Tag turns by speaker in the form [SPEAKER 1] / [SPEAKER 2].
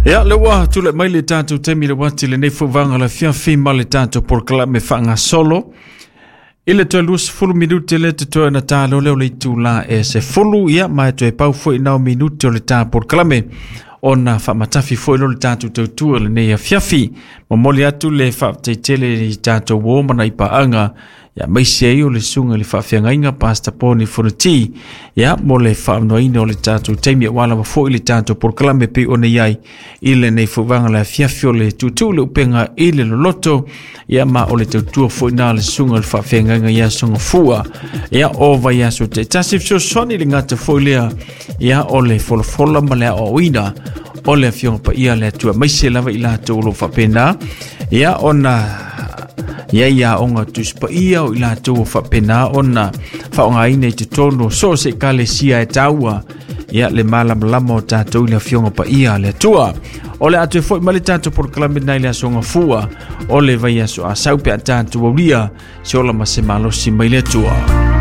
[SPEAKER 1] Ia, le ua tulai mai le tatou taimi le uati lenei fauvaga o le afiafi ma le tatou polokalame faagasolo. I le toe 20 minute le totoe ona talo lea o le itula e 10, ia ma e toe pau foi nao minute o le ta polokalame ona faamatafi foi lea o le tatou tautua i lenei afiafi. Momoli atu le faafetai tele i tatou uo ma nai paaga, ia maise ai o le susuga i le faafeagaiga Pastor Poni Fonoti, ia mo le faamanoaina o le tatou taimi aua lava foi le tatou polokalame pei ona i ai i lenei fauvaga le afiafi o le tuutuu le upega i le loloto, ia ma o le tautua foi na le susuga i le faafeagaiga ia Sogafua, ia o vaiaso taitasi fesoasoani le gata foi lea, ia o le folafola ma le aoaoina o le afioga paia le Atua, maise lava i latou o lo o faapena ia ona ia i aoga Tusi Paia o i latou o faapena ona faaaogaina i totonu o so o se ekalesia e taua ia le malamalama o tatou i le afioga paia a le Atua. O le a toe foi mai le tatou polokalame nai le aso Gafua o le vaiaso a sau pe a tatou aulia se ola ma se malosi mai le Atua.